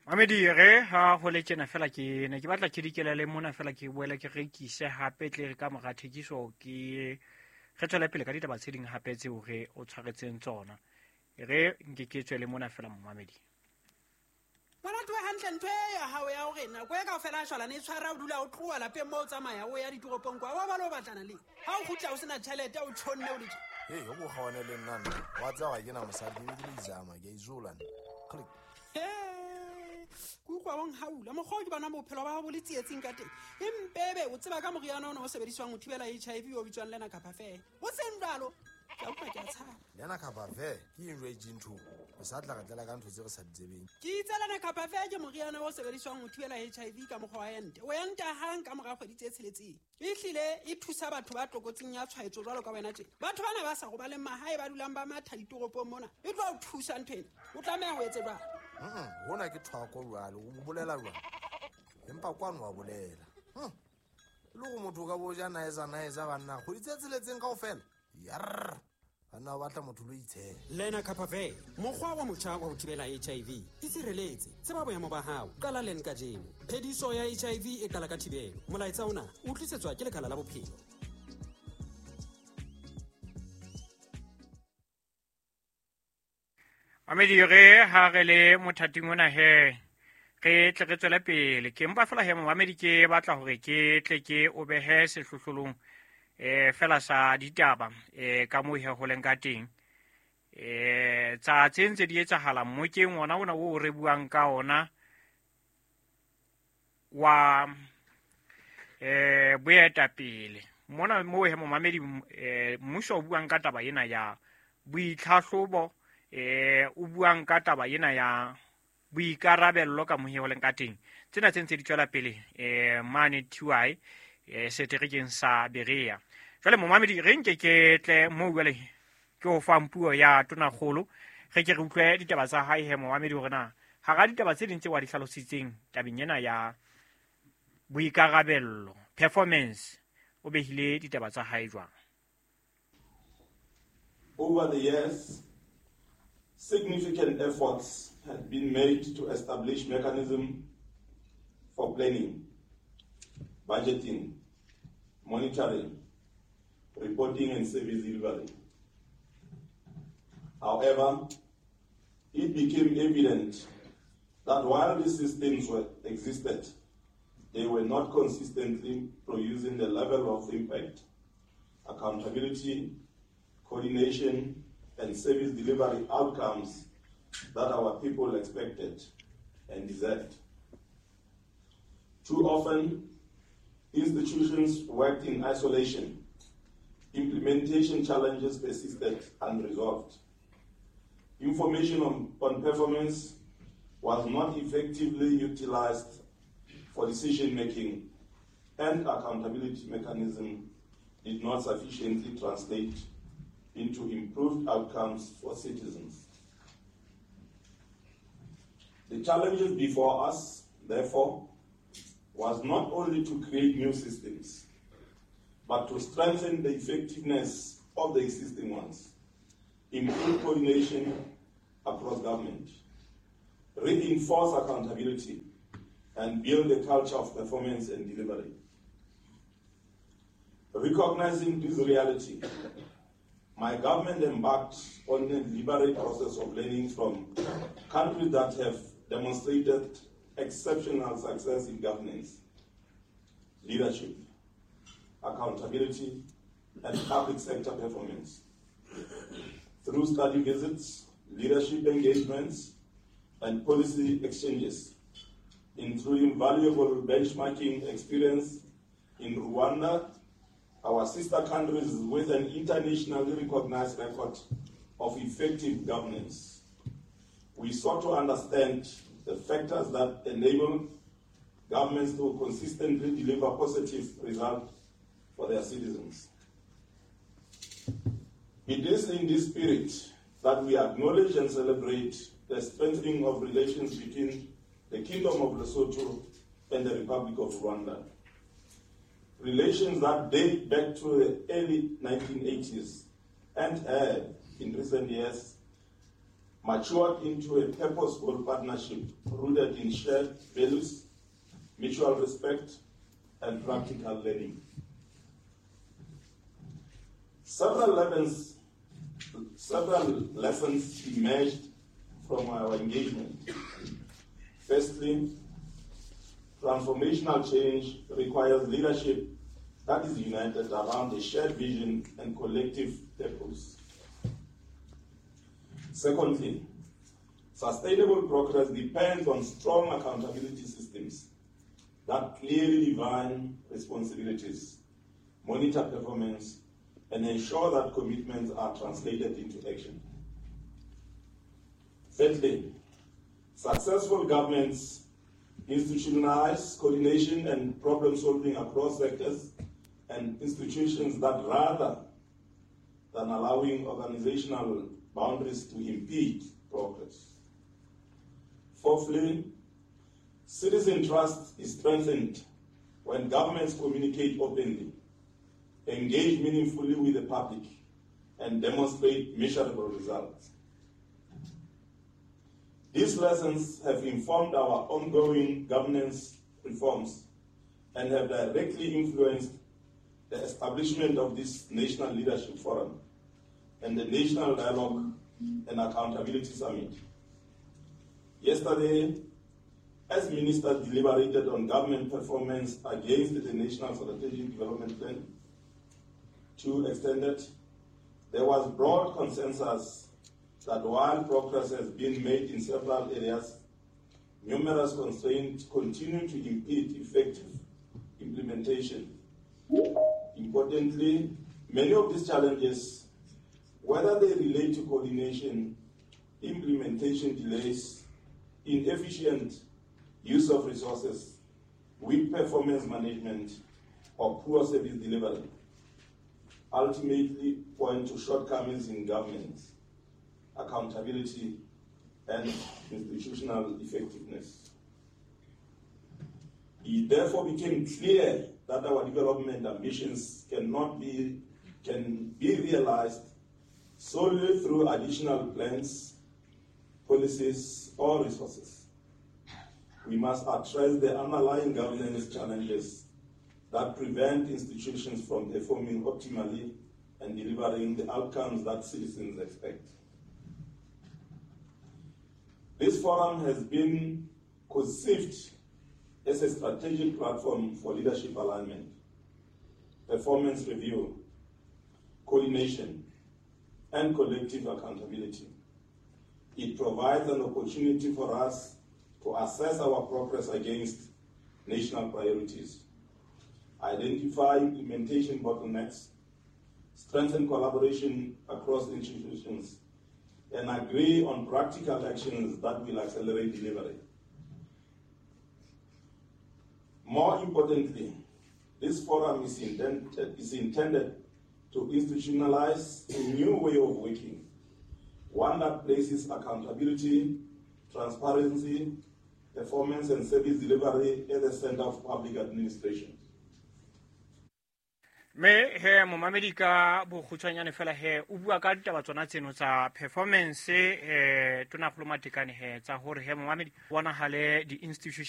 Mamedi re ha ho le tjena fela ke ne ke batla ke dikelele mona fela ke boele ke rekise hape tle re ka mora thekiso ke re tswele pele ka ditaba tse ding hape tseo re o tshwaretseng tsona. Re nke ke tswele mona fela momamedi. Moratuwa hantle ntho e ya hao ya hore nako e kaofela a shwalane e tshwara o dula o tloha lapeng mo o tsamaya o ya ditoropong kwa wa ba le o batlana le ha o kgutla o sena tjhelete o tjhonne o le tje. Hey, o kgaone le nna nna. Wa tseba ga ke na mosadi ke be ke le izama, ke a izola nna. Click. He, ke utlwa o nhaula mokgwa o ke bona bophelo ba hao bo le tsietsing ka teng. Empebe o tseba ka moriana ona o sebediswang ho thibela HIV o bitswang Lenacapavir. O seng jwalo, ke a utlwa ke a tshaba. Lenacapavir ke eng jwale ntho? O sa tla re tlela ka ntho tse re sa di tsebeng. Ke itse Lenacapavir ke moriana o sebediswang ho thibela HIV ka mokgwa wa ente. O enta hang ka mora kgwedi tse tsheletseng. Ehlile e thusa batho ba tlokotsing ya tshwaetso jwalo ka wena tje. Batho bana ba sa robaleng mahae ba dulang ba matha ditoropong mona. E tlo o thusa ntho ena. O tlameha ho etse jwang? Hona ke thwako jwale, o bolela jwang? Empa kwano wa bolela. E le hore motho o ka bo ja naeza naeza banna, kgwedi tse tsheletseng kaofela. Yarr. Banna ba batla motho lo itshela. Lenacapavir, mokgwa wa motjha wa ho thibela HIV. Itshireletse, tseba boemo ba hao, qala len kajeno. Phediso ya HIV e qala ka thibelo. Molaetsa ona o tlisetswa ke Lekala la Bophelo. Mamedi re ha re le mothating ona he re tle re tswele pele. Ke mpa fela he momamedi ke batla hore ke tle ke o behe sehlohlolong fela sa ditaba ka moo he ho leng ka teng. Tsa tse ntse di etsahala mmokeng ona ona o re buang ka ona wa boetapele. Mona moo he momamedi mmuso o buang ka taba ena ya boitlhahlobo, o buang ka taba ena ya boikarabello ka moo he ho leng ka teng. Tsena tse ntse di tswela pele mane TY seterekeng sa Berea. Jwale momamedi re nke ke tle moo jwale ke o fang puo ya Tonakgolo, re ke re utlwe ditaba tsa hae he momamedi hore na hara ditaba tse ding tse wa di hlalositseng tabeng ena ya boikarabello performance o behile ditaba tsa hae jwang. Over the years, significant efforts have been made to establish mechanisms for planning, budgeting, monitoring, reporting, and service delivery. However, it became evident that while these systems were existed, they were not consistently producing the level of impact, accountability, coordination, and service delivery outcomes that our people expected and deserved. Too often, institutions worked in isolation. Implementation challenges persisted unresolved. Information on performance was not effectively utilized for decision-making, and accountability mechanism did not sufficiently translate into improved outcomes for citizens. The challenges before us, therefore, was not only to create new systems, but to strengthen the effectiveness of the existing ones, improve coordination across government, reinforce accountability, and build a culture of performance and delivery. Recognizing this reality, my government embarked on a deliberate process of learning from countries that have demonstrated exceptional success in governance, leadership, accountability, and public sector performance. Through study visits, leadership engagements, and policy exchanges, including valuable benchmarking experience in Rwanda, our sister countries with an internationally recognized record of effective governance. We sought to understand the factors that enable governments to consistently deliver positive results for their citizens. It is in this spirit that we acknowledge and celebrate the strengthening of relations between the Kingdom of Lesotho and the Republic of Rwanda. Relations that date back to the early 1980s and have, in recent years, matured into a purposeful partnership rooted in shared values, mutual respect, and practical learning. Several lessons emerged from our engagement. Firstly, transformational change requires leadership that is united around a shared vision and collective purpose. Secondly, sustainable progress depends on strong accountability systems that clearly define responsibilities, monitor performance, and ensure that commitments are translated into action. Thirdly, successful governments institutionalize coordination and problem-solving across sectors and institutions that, rather than allowing organizational boundaries to impede progress. Fourthly, citizen trust is strengthened when governments communicate openly, engage meaningfully with the public, and demonstrate measurable results. These lessons have informed our ongoing governance reforms and have directly influenced the establishment of this National Leadership Forum and the National Dialogue and Accountability Summit. Yesterday, as ministers deliberated on government performance against the National Strategic Development Plan 2 Extended, there was broad consensus that while progress has been made in several areas, numerous constraints continue to impede effective implementation. Importantly, many of these challenges, whether they relate to coordination, implementation delays, inefficient use of resources, weak performance management, or poor service delivery, ultimately point to shortcomings in governance, accountability, and institutional effectiveness. It therefore became clear that our development ambitions can be realized solely through additional plans, policies, or resources. We must address the underlying governance challenges that prevent institutions from performing optimally and delivering the outcomes that citizens expect. This forum has been conceived as a strategic platform for leadership alignment, performance review, coordination, and collective accountability. It provides an opportunity for us to assess our progress against national priorities, identify implementation bottlenecks, strengthen collaboration across institutions, and agree on practical actions that will accelerate delivery. More importantly, this forum is intended to institutionalize a new way of working, one that places accountability, transparency, performance, and service delivery at the center of public administration. Me he momamedi ka bokgutshwanyane fela he o bua ka ditaba tsona tseno tsa performance Tonakgolo Matekane he tsa hore he momamedi bonahale di-institution.